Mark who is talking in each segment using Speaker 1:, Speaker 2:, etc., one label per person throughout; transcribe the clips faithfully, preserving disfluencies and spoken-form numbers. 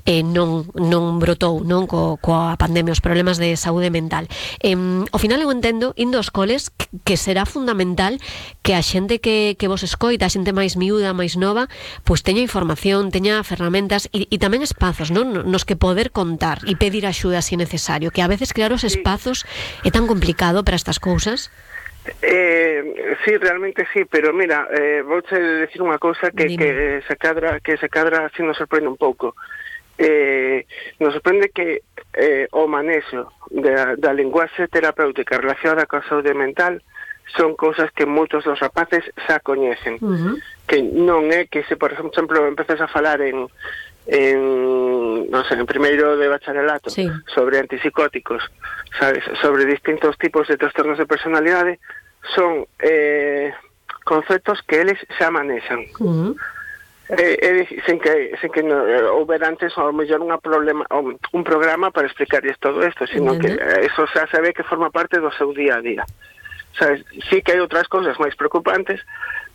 Speaker 1: eh, non, non brotou non co, coa pandemia, os problemas de saúde mental. Eh, ao final eu entendo, indo aos coles, que, que será fundamental que a xente que, que vos escoita, a xente máis miúda, máis nova, pois teña información, teña ferramentas e, e tamén espazos, non, nos que poder contar e pedir axuda se necesario, que a veces crear os espazos é tan complicado para estas cousas.
Speaker 2: Eh, sí, realmente sí, pero mira, eh, vou te decir unha cousa que, que se cadra, que se cadra así nos sorprende un pouco. Eh, nos sorprende que eh, o manexo da, da linguaxe terapéutica relacionada coa saúde mental son cousas que moitos dos rapaces xa coñecen. Uh-huh. Que non é que se, por exemplo, empezas a falar en en, non sei, en primeiro de bacharelato, sí, sobre antipsicóticos, sabes, sobre distintos tipos de trastornos de personalidade, son eh, conceptos que eles xa manexan. Uh-huh. eh, eh, sen que, sen que no, eh, houber antes ao mellor unha problema, un programa para explicarles todo isto, sino uh-huh, que eh, eso xa se ve que forma parte do seu día a día. Sabes, sí que hai outras cousas máis preocupantes,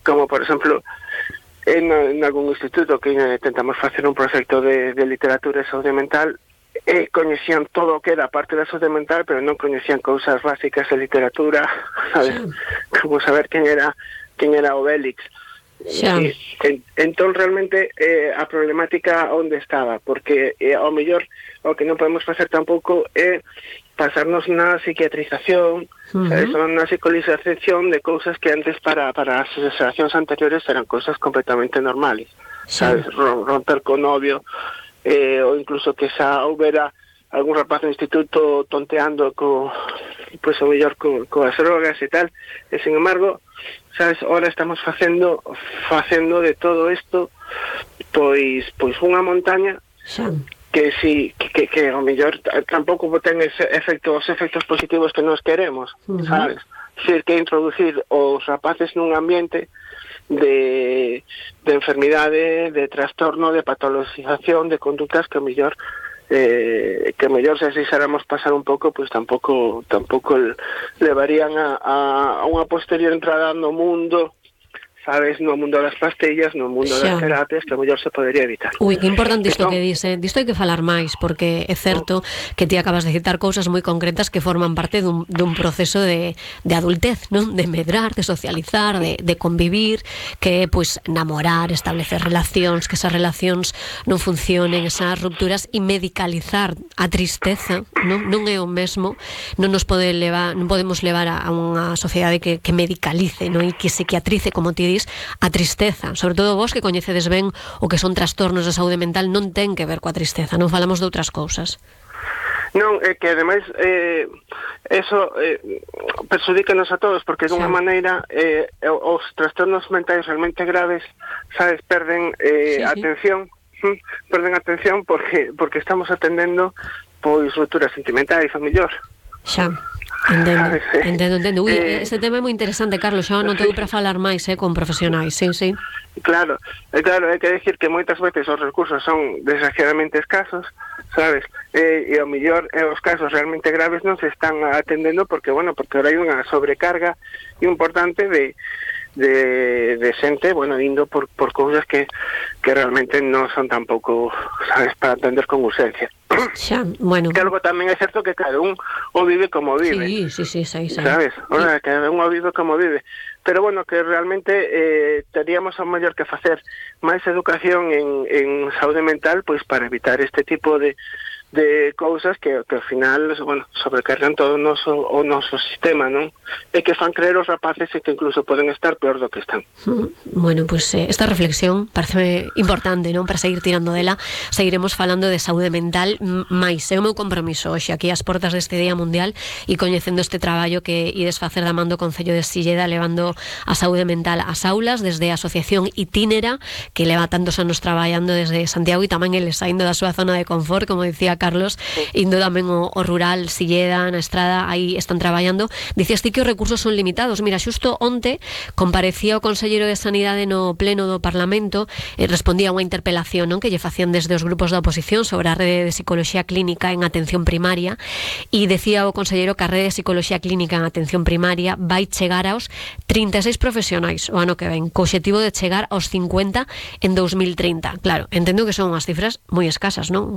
Speaker 2: como por exemplo en, en algún instituto que eh, tentamos facer un proxecto de, de literatura e saúde mental, e coñecían todo o que era parte da saúde mental, pero non coñecían cousas básicas de literatura, sabes? Sí. Como saber quen era quen era Obélix. Sí. E, en, entón realmente eh, a problemática onde estaba, porque eh, ao mellor o que non podemos facer tampouco é pasarnos na psiquiatrización, uh-huh, sabes, na psicolización de cousas que antes para, para as xeracións anteriores eran cousas completamente normales, sí, sabes, romper con novio, eh, ou incluso que xa houbera algún rapaz no instituto tonteando co, pois o mellor co, coas drogas e tal, e sin embargo, sabes, ahora estamos facendo facendo de todo isto pois pois unha montaña, sí, que si que, que, que ao mellor tampouco ten ese efecto, os efectos positivos que nos queremos, uh-huh, sabes? Decir, que introducir os rapaces nun ambiente de, de enfermidade, de trastorno, de patologización, de conductas que ao mellor eh, que ao mellor se deixáramos pasar un pouco, pois tampouco tampouco levarían a, a, a unha posterior entrada no mundo, sabes, no mundo das pastillas, no mundo das terapias, que a mellor se podería evitar.
Speaker 1: Ui, que importante isto que dice. Disto hai que falar máis, porque é certo que ti acabas de citar cousas moi concretas que forman parte dun, dun proceso de, de adultez, non? De medrar, de socializar, de, de convivir, que é, pois, namorar, establecer relacións, que esas relacións non funcionen, esas rupturas, e medicalizar a tristeza, non? Non é o mesmo, non nos pode levar, non podemos levar a, a unha sociedade que, que medicalice, non? E que psiquiatrice, como ti a tristeza, sobre todo vos que coñecedes ben o que son trastornos de saúde mental, non ten que ver coa tristeza, non falamos de outras cousas.
Speaker 2: Non, é que ademais eh, eso eh, perxudícanos a todos, porque de unha sí, maneira eh, os trastornos mentais realmente graves, sabes, perden eh, sí, atención, sí, perden atención porque porque estamos atendendo pois rupturas sentimentais, a mellor.
Speaker 1: Xa. Entendo, entendo, entendo. Ui, eh, ese tema é moi interesante, Carlos, xa non teño para falar máis, eh, con profesionais, sí, sí.
Speaker 2: Claro, é claro, hai que decir que moitas veces os recursos son desgraciadamente escasos, sabes, e, e ao mellor eh, os casos realmente graves non se están atendendo porque, bueno, porque ahora hai unha sobrecarga importante de de, de xente, bueno, indo por, por cousas que, que realmente non son tampouco, sabes, para atender con urgencia.
Speaker 1: Xa, bueno.
Speaker 2: Que algo tamén é certo que cada un o vive como vive.
Speaker 1: Sí, sí, sí, sí, sí.
Speaker 2: Sabes, Ora, sí, cada un o vive como vive. Pero bueno, que realmente eh, teríamos ao mellor que facer máis educación en, en saúde mental, pois para evitar este tipo de de cousas que, que ao final, bueno, sobrecargan todo o noso, o noso sistema, non? E que fan creer os rapaces e que incluso poden estar peor do que están.
Speaker 1: Bueno, pois pues, eh, esta reflexión parece importante, non? Para seguir tirando dela, seguiremos falando de saúde mental máis. É o meu compromiso hoxe aquí ás portas deste Día Mundial e coñecendo este traballo que ides facer da man do Concello de Silleda, levando a saúde mental ás aulas desde a Asociación Itínera, que leva tantos anos traballando desde Santiago e tamén eles saindo da súa zona de confort, como dicía Carlos, indo tamén o, o rural, Silleda, na Estrada, aí están traballando. Dicías ti que os recursos son limitados. Mira, xusto onte comparecía o Conselleiro de Sanidade no pleno do Parlamento e respondía a unha interpelación, non, que lle facían desde os grupos da oposición sobre a rede de psicoloxía clínica en atención primaria, e decía o Conselleiro que a rede de psicoloxía clínica en atención primaria vai chegar aos trinta e seis profesionais o ano que ven, co obxectivo de chegar aos cincuenta en dous mil trinta. Claro, entendo que son unhas cifras moi escasas, non?